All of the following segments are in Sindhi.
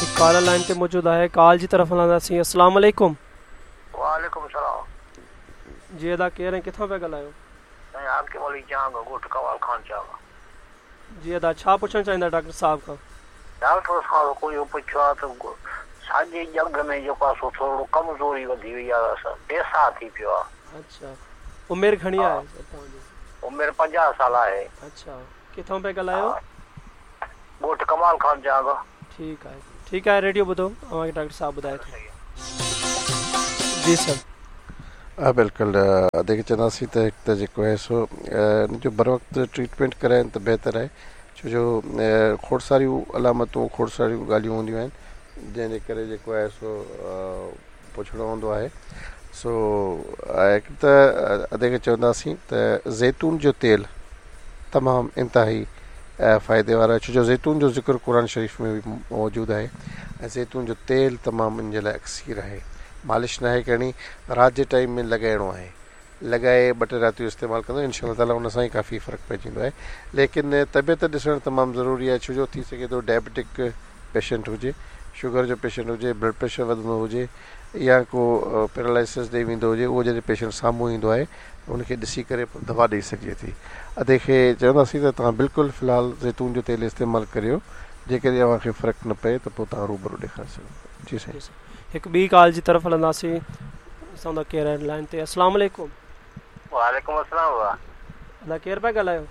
هڪ ڪالر لائن تي موجود آهي ڪال جي طرف هلنداسين السلام عليڪم. وعليڪم السلام. جي ادا ڪير ۽ ڪٿان پيا ڳالهايو؟ سائين حاڪم علي چانگ ڳوٺ ڪمال خان چانگ. جي ادا ڇا پڇڻ چاهيندا ڊاڪٽر صاحب کان؟ ڊاڪٽر صاحب کان اهو پڇيو آهي ته ساڄي ڄنگهه ۾ جيڪو آهي سو ٿورڙو ڪمزوري وڌي وئي آهي بيساهه ٿي پيو آهي. اڇا عمر گهڻي آهي سر توهان جي؟ عمر 50 سال آهي. اڇا ڪٿان پيا ڳالهايو؟ ڳوٺ ڪمال خان چانگ. ٺيڪ آهي ٺيڪ آهي ريڊيو ٻڌو اوهان کي ڊاڪٽر صاحب ٻڌائي ٿو. جي سر. ها بلڪل ادي کي چونداسين ته هڪ ته جيڪو آهي سو ان جو بروقت ٽريٽمينٽ ڪرائين ته بهتر آهي ڇو جو کوڙ ساريون علامتون کوڙ ساريون ڳالهيون هونديون آهن جنهن جي ڪري جيڪو آهي سو پڇڻو هوندو آهي سو هڪ ته ادي کي چونداسين ته زيتون جو تيل تمام انتهائي فائدي وارو آهي ڇو جو زيتون جو ذڪر قرآن شريف ۾ به موجود آهي ۽ زيتون جو تيل تمام ان جي لاء اڪسير آهي مالش ناهي ڪرڻي رات جي ٽائيم ۾ لڳائڻو آهي لڳائي ٻه ٽي راتيون استعمال ڪندو انشاء الله تعالي ان سان ئي ڪافي فرق پئجي ويندو آهي ليڪن طبيعت ڏسڻ تمام ضروري آهي ڇو جو ٿي سگهي ٿو ڊائبٽڪ پيشنٽ هجي شگر جو پيشنٽ هجي بلڊ پريشر وڌندو هجي يا ڪو پيرالائسس ڏي ويندو هجي اهو جڏهن پيشنٽ سامهون ايندو آهي ته ان کي ڏسي ڪري پوء دوا ڏئي سگهجي ٿي ادي کي چونداسين ته توهان بلڪل في الحال زيتون جو تيل استعمال ڪريو جيڪڏهن اوهان کي فرق نه پئي ته پوء توهان روبرو ڏيکاري سگهو ٿا جي سائين. هڪ ٻي ڪال جي طرف هلنداسين ڏسون ٿا ڪير آهن لائن تي السلام عليڪم. وعليڪم السلام بابا. ادا ڪير پيا ڳالهايو؟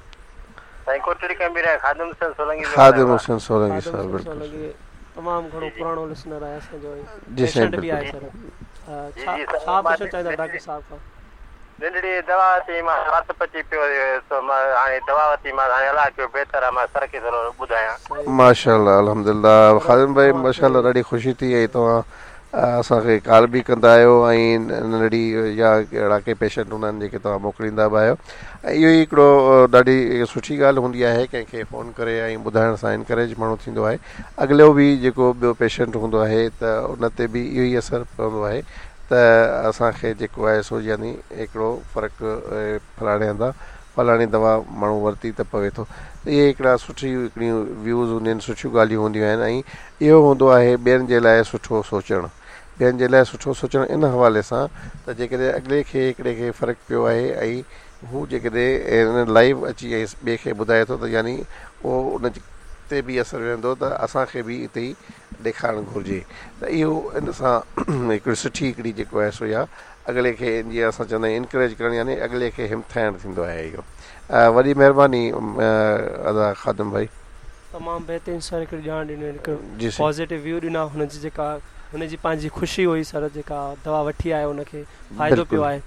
سائين ڪوٽڙي ڪمبير خادم حسين سولنگي پيو خادم حسين سولنگي صاحب بلڪل سولنگي تمام گهڻو پراڻو لسنر آهي اسان جو پيشنٽ به آهي سر ڇا ڇا پڇڻ چاهيندا ڊاڪٽر صاحب کان؟ ننڍڙي دوا ورتي مان وات پچي پيو سو مان هاڻي دوا ورتي مان هاڻي الله ڪيو بهتر آ مان سر کي ٿورو ٻڌايان. ماشاءالله الحمدلله خادم ڀائي ماشاءالله ڏاڍي خوشي ٿي ۽ توهان اسان کي ڪال به ڪندا آهيو ۽ ننڍڙي يا اهڙا ڪي پيشنٽ هوندا آهن جيڪي توهان موڪليندا به آهيو ۽ اهو ئي هڪڙو ڏاڍي سٺي ڳالهه هوندي آهي ڪنهن کي فون ڪري ۽ ٻڌائڻ سان انڪريج ماڻهو ٿيندو آهي اڳلو به جيڪو ٻيو پيشنٽ هوندو آهي ته ان تي به اهو ئي اثر پوندو آهي ته اسان کي جيڪو آهي سو يعني هڪڙو فرق فلاڻي هنڌان فلاڻي دوا ماڻهو ورتي ته پوي ٿو ته اهي هڪڙا سٺي هڪڙيون ويوز هونديون آهن سٺيون ڳالهيون هونديون آهن ۽ اهو هوندو آهي ٻين جي لاء سٺو سوچڻ ٻين جي لاء سٺو سوچڻ ان حوالي سان ته جيڪڏهن اڳلي کي هڪڙي کي فرق پيو آهي ۽ هو جيڪڏهن لائيو اچي ۽ ٻئي کي ٻڌائي ٿو ته يعني اهو ان تي به اثر ويهندو ته اسان کي به اتي ئي ڏيکارڻ گهرجي ته اهو ان سان هڪڙي سٺي هڪڙي جيڪو آهي سو يا اڳلي کي جيئن اسان چوندا آهيون انڪريج ڪرڻ يعني اڳلي کي همٿائڻ ٿيندو آهي اهو وڏي مهرباني ادا خادم ڀائي. تمام بهترين سر هڪڙي ڄاڻ ڏني هڪ پازيٽو ويو ڏنا هن جي جيڪا هن جي پنهنجي خوشي هئي سر جيڪا دوا وٺي آيو هن کي فائدو پيو آهي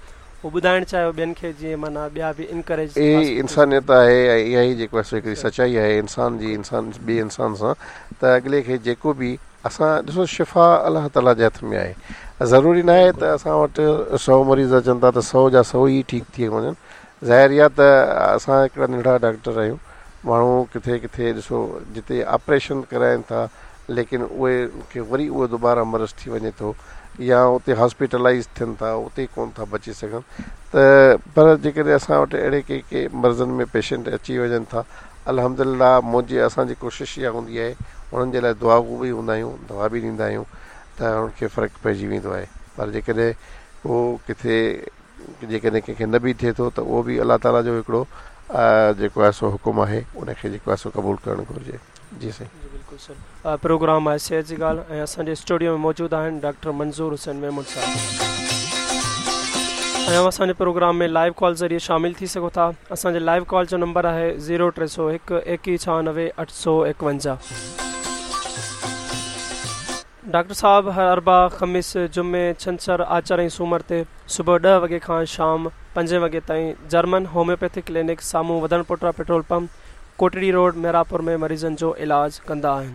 اهو ٻڌائڻ چاهيو ٻين کي جيئن معنيٰ ٻيا به انڪريج اها ئي انسانيت آهي ۽ اها ئي جيڪو آهي سو هڪڙي سچائي آهي انسان جي انسان ٻئي انسان سان ته اڳلي کي جيڪو به اسان ڏسو شفا الله تعالي جي هٿ ۾ آهي ضروري ناهي ته اسان وٽ سو مريض اچن ٿا ته سو جا سو ئي ٺيڪ ٿي وڃن ظاهر اها ته اسان هڪڙا ننڍڙا ڊاڪٽر آهيون ماڻهو ڪٿي ڪٿي ڏسو جتي آپريشن ڪرائين ٿا ليڪن اهي کي وري اهو دوباره مرض ٿي وڃي ٿو يا اتي هاسپيٽلائيز ٿين ٿا اتي ڪون ٿا بچي سگهن ته پر جيڪڏهن اسان وٽ اهڙي ڪي ڪي مرضن ۾ پيشنٽ اچي وڃن ٿا الحمدلله منهنجي اسان جي ڪوشش اها هوندي آهي انهن جي لاء دعاگو به هوندا آهيون دوا به ڏيندا آهيون ته انهن کي فرق پئجي ويندو آهي پر جيڪڏهن ڪو ڪٿي جيڪڏهن ڪنهن کي نه به ٿئي ٿو ته اهو به الله تعالي جو هڪڙو جيڪو آهي سو حڪم آهي ان کي جيڪو آهي سو قبول ڪرڻ گهرجي جي سائين. جي بلڪل سر پروگرام آهي صحت جي ڳالهه ۽ اسان جي اسٽوڊيو ۾ موجود آهن ڊاڪٽر منظور حسين ميمڻ صاحب ۽ اوهان اسان جي پروگرام ۾ لائيو ڪال ذريعي شامل ٿي سگهو ٿا اسان جي لائيو ڪال جو نمبر آهي زيرو 301 21 96 851. ڊاڪٽر صاحب هر اربع، خميس، جمعي، ڇنڇر، آچر ۽ سومر تي صبح ڏهه وڳي کان شام پنجين وڳي تائين جرمن هوميوپيٿڪ ڪلينڪ سامهون وڌڻ پوٽا petrol pump, Kotri road, Miranpur ۾ مريضن جو علاج ڪندا آهن.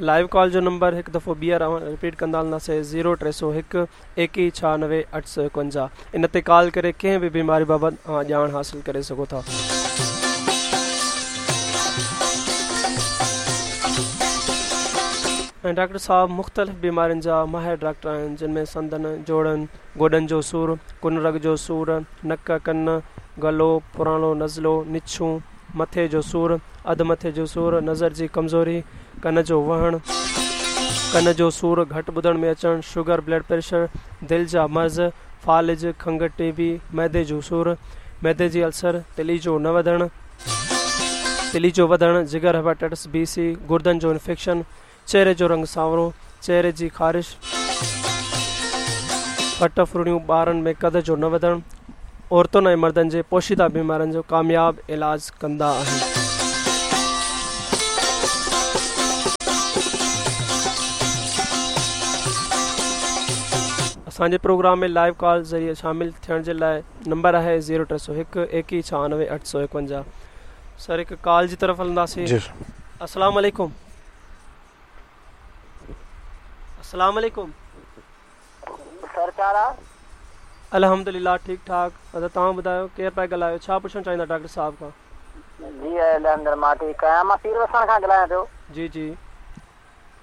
لائيو ڪال جو نمبر هڪ دفعو ٻيهر اوهان رپيٽ ڪندا هلنداسين زيرو 301 ايڪيهه 96 851 ان تي ڪال ڪري ڪنهن به بيماري بابت اوهان ڄاڻ حاصل ڪري سگهو ٿا. ۽ ڊاڪٽر صاحب مختلف بيمارين جا ماهر ڊاڪٽر آهن جن ۾ سنڌن، جوڙن، گوڏن جو سور، ڪن رڳ جو سور، نڪ، ڪن، گلو، پراڻو نزلو، نڇون، مٿي جو سور، اڌ مٿي جو سور، نظر جي ڪمزوري، ڪن جو وهڻ، ڪن جو سور، گهٽ ٻڌڻ ۾ اچڻ، شگر، بلڊ پريشر، دل جا مرض، فالج، کنگهه، ٽي بي، معدي جو سور، معدي جي السر، تلي جو نه وڌڻ، تلي جو وڌڻ، جگر، هيپاٽائٽس بي، سي، گردن جو انفيڪشن، چهري جو رنگ سانورو، چهري جي خارش، ڦٽ ڦرڙيون، ٻارن ۾ قد جو نه وڌڻ، عورتن ۽ مردن جي پوشيده بيمارين جو ڪامياب علاج ڪندا آهن. اسان جي پروگرام ۾ لائيو ڪال ذريعي شامل ٿيڻ جي لاء نمبر آهي زيرو 301 21 96 851. سر هڪ ڪال جي طرف هلنداسين. جي. السلام عليڪم. السلام عليڪم. سر ڇا حال آ؟ الحمدلله ٺيڪ ٺاڪ ادا توهان ٻڌايو ڪير پيا ڳالهايو ڇا پڇڻ چاهيندا ڊاڪٽر صاحب کان. جي الحمدلله مان ٺيڪ آهيان مان پير وسڻ کان ڳالهايان پيو. جي جي.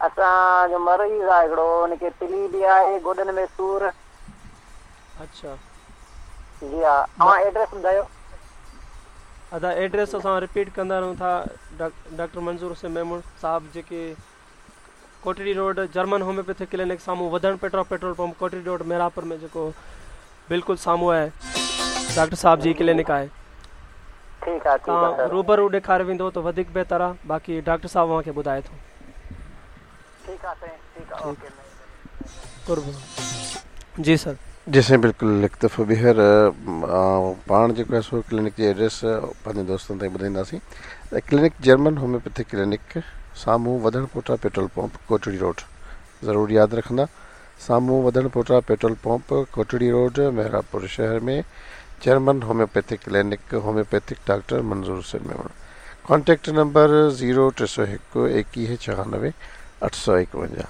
اسان جو مريض آهي هڪڙو ان کي تلي به آهي گوڏن ۾ سور. اڇا. جي ها اوهان ايڊريس ٻڌايو. ادا ايڊريس اسان رپيٽ ڪندا رهون ٿا ڊاڪٽر منظور حسين ميمڻ صاحب جيڪي Kotri road German homeopathic clinic سامهون وڌڻ petro petrol pump Kotri road Mehrabpur ۾ جيڪو بلڪل سامهون آهي ڊاڪٽر صاحب جي ڪلينڪ آهي ٺيڪ آهي ٺيڪ آهي سر روبرو ڏيکاري ويندو ته وڌيڪ بهتر آهي باقي ڊاڪٽر صاحب اوهان کي ٻڌائي ٿو. ٺيڪ آهي سائين ٺيڪ آهي اوڪي قرب جي سر. جي سائين بلڪل هڪ دفعو ٻيهر پاڻ جيڪو آهي سو ڪلينڪ جي ايڊريس پنهنجي دوستن تائين ٻڌائينداسين ته ڪلينڪ جرمن هوميوپيٿڪ ڪلينڪ سامهون وڌڻ پوٽا پيٽرول پمپ ڪوٽڙي روڊ ضرور ياد رکندا سامهون وڌڻ پوٽا petrol pump Kotri road Mehrabpur شهر ۾ German homeopathic clinic homeopathic doctor Manzoor Hussain Memon contact number zero 301 21 96 851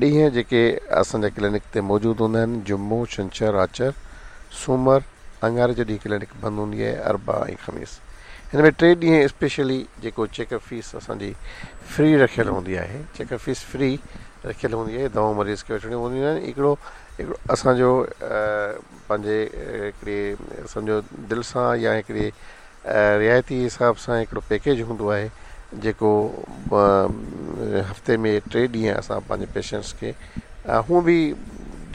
ڏينهن جيڪي اسان جا ڪلينڪ تي موجود هوندا آهن جمعو ڇنڇر آچر سومر اڱاري جو ڏينهن ڪلينڪ بند هوندي آهي اربع ۽ خميس هن ۾ ٽي ڏينهن اسپيشلي جيڪو چيڪ اپ فيس اسان جي فري رکيل هوندي آهي چيڪ اپ فيس فري رکيل هوندي آهي دوائون مريض کي وٺڻيون هونديون آهن هڪڙو هڪڙو اسان جو پنهنجي هڪڙي سمجهو دل سان يا هڪڙي رعايتي حساب سان هڪڙو پيڪيج هوندو آهي جيڪو هفتي ۾ ٽي ڏينهن اسان پنهنجي پيشنٽس کي هونء به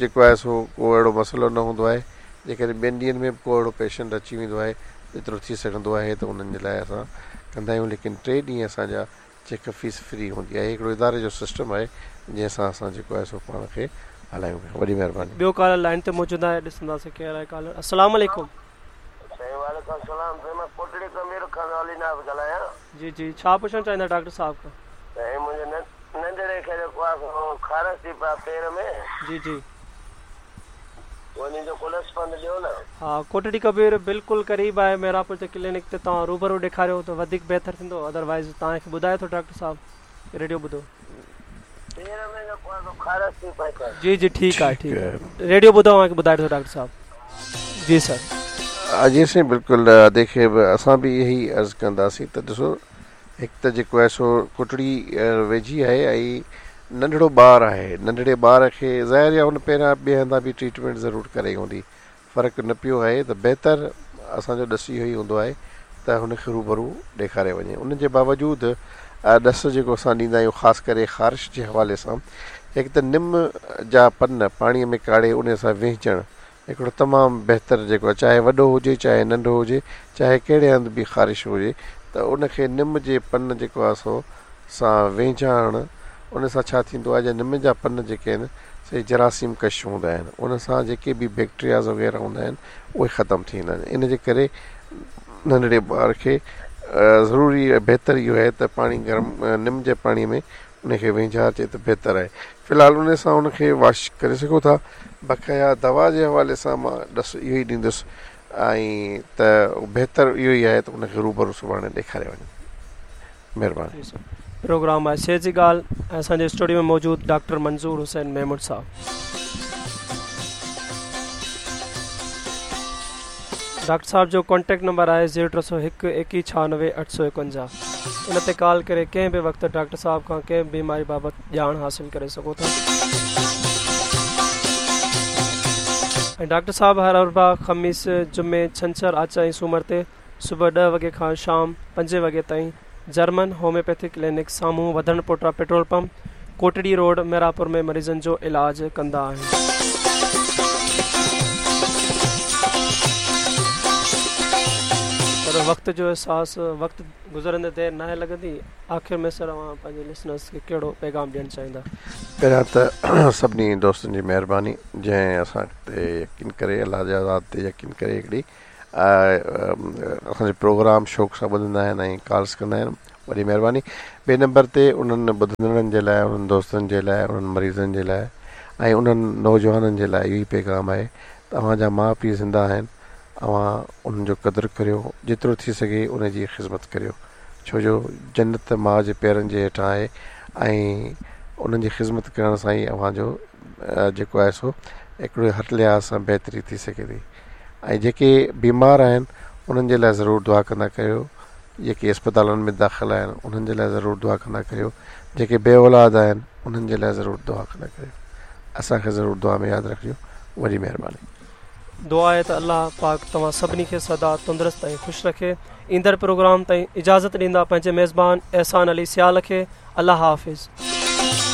جيڪو آهي سو ڪو اهڙو مسئلو نه هوندو آهي جيڪڏهن ٻين ڏينهن ۾ به ڪو اهڙو پيشنٽ اچي ويندو آهي جيترو ٿي سگهندو آهي ته انهن جي لاء اسان ڪندا آهيون ليڪن ٽي ڏينهن اسان جا چيڪ اپ فيس فري هوندي آهي هڪڙو اداري جو سسٽم آهي جنهن سان اسان جيڪو آهي سو پاڻ کي هلايون پيا وڏي مهرباني. ٻيو ڪالر لائين تي موجود آهي ڏسنداسين ڪير آهي ڪالر السلام عليڪم. سائين وعليڪم السلام سائين مان ڪوٽڙي ڪبير کان علي ناز ڳالهايان. جي جي ڇا پڇڻ چاهيندا ڊاڪٽر صاحب کان. سائين منهنجي ننڍڙي کي جيڪو آهي سو خارش ٿي پئي آهي پير ۾. جي جي. انهي جو ڪو ڏس پنڌ ڏيو نه. ها ڪوٽڙي ڪبير بلڪل قريب آهي محرابپور جي ڪلينڪ تي توهان روبرو ڏيکاريو ته وڌيڪ بهتر ٿيندو ادروائيز توهان کي ٻڌائي ٿو ڊاڪٽر صاحب ريڊيو ٻڌو. پير ۾ جيڪو آهي سو خارش ٿي پئي اٿس. جي جي ٺيڪ آهي ٺيڪ آهي ريڊيو ٻڌو اوهان کي ٻڌائي ٿو ڊاڪٽر صاحب جي سر. جي سائين بلڪل ادي کي به اسان به اهي ئي عرض ڪنداسين ته ڏسو هڪ ته جيڪو آهي سو ڪوٽڙي ويجهي آهي ۽ ننڍڙو ٻار آهي ننڍڙي ٻار کي ظاهر آهي هن پهريان ٻئي هنڌان به ٽريٽمينٽ ضرور ڪرائي هوندي فرق نه پيو آهي ته بهتر اسان جو ڏس اهو ئي هوندو آهي ته هن کي روبرو ڏيکاري وڃي ان جي باوجود ڏس جيڪو اسان ڏيندا آهيون خاص ڪري خارش جي حوالي سان هڪ ته نم جا پن پاڻي ۾ ڪاڙهي ان سان وهنجڻ هڪڙو تمام بهتر جيڪو آهي چاهي وڏو هجي چاهي ننڍو هجي چاهي ڪهڙي هنڌ به خارش هجي ته ان کي نم جي پن جيڪو آهي سو سان وهنجائڻ ان سان ڇا ٿيندو آهي جا نم جا پن جيڪي آهن سي جراثيم ڪش هوندا آهن ان سان جيڪي به بيڪٽرياز وغيره هوندا آهن اهي ختم ٿي ويندا آهن ان جي ڪري ننڍڙي ٻار کي ضروري بهتر اهو آهي ته پاڻي گرم نم جي پاڻي ۾ ان کي وهنجارجي ته بهتر آهي. في الحال ان سان ان کي واش ڪري سگهو ٿا. بقايا دوا جي حوالي سان مان ڏس اهو ئي ڏيندس ۽ ته بهتر اهو ئي آهي ته ان کي روبرو سڀاڻي ڏيکاري وڃو. مهرباني. پروگرام آهي صحت جي ڳالهه ۽ اسان جي اسٽوڊيو ۾ موجود ڊاڪٽر منظور حسين ميمڻ صاحب. ڊاڪٽر صاحب جو ڪانٽيڪٽ نمبر آهي زيرو 301 21 96 851. ان تي ڪال ڪري ڪنهن به وقت ڊاڪٽر صاحب کان ڪنهن به بيماري بابت ڄاڻ حاصل ڪري سگهو ٿا. ۽ ڊاڪٽر صاحب هر اربع، خميس، جمعي، ڇنڇر، آچر ۽ سومر تي صبح ڏهه وڳي کان شام پنجين وڳي تائين جرمن هوميوپيٿڪ ڪلينڪ سامهون Wadhan Pota petrol pump, Kotri road, Mirapur ۾ مريضن جو علاج ڪندا آهن. پر وقت جو احساس وقت گذرندي دير ناهي لڳندي. آخر ۾ سر اوهان پنهنجي لسنرس کي ڪهڙو پيغام ڏيڻ چاهيندا؟ پهريان ته سڀني دوستن جي مهرباني جنهن اسان تي يقين ڪري الله جي ذات تي يقين ڪري هڪڙي اسان جو پروگرام شوق سان ٻڌندا آهن ۽ ڪالس ڪندا آهن وڏي مهرباني ٻئي نمبر تي انهن ٻڌندڙن جي لاء انهن دوستن جي لاء انهن مريضن جي لاء ۽ انهن نوجوانن جي لاء اهو ئي پيغام آهي ته اوهان جا ماء پيء زنده آهن اوهان انهن جو قدر ڪريو جيترو ٿي سگهي ان جي خدمت ڪريو ڇو جو جنت ماء جي پيرن جي هيٺان آهي ۽ انهن جي خدمت ڪرڻ سان ئي اوهان جو جيڪو آهي سو هڪڙو هر لحاظ سان بهتري ٿي سگهي ٿي ۽ جيڪي بيمار آهن انهن جي لاء ضرور دعا ڪندا ڪريو جيڪي اسپتالن ۾ داخل آهن انهن جي لاء ضرور دعا ڪندا ڪريو جيڪي بي اولاد آهن انهن جي لاء ضرور دعا ڪندا ڪريو اسان کي ضرور دعا ۾ ياد رکجو وڏي مهرباني. دعا آهي ته الله پاڪ توهان سڀني کي سدا تندرست ۽ خوش رکي. ايندڙ پروگرام تائين اجازت ڏيندا پنهنجي ميزبان احسان علي سيال کي الله حافظ.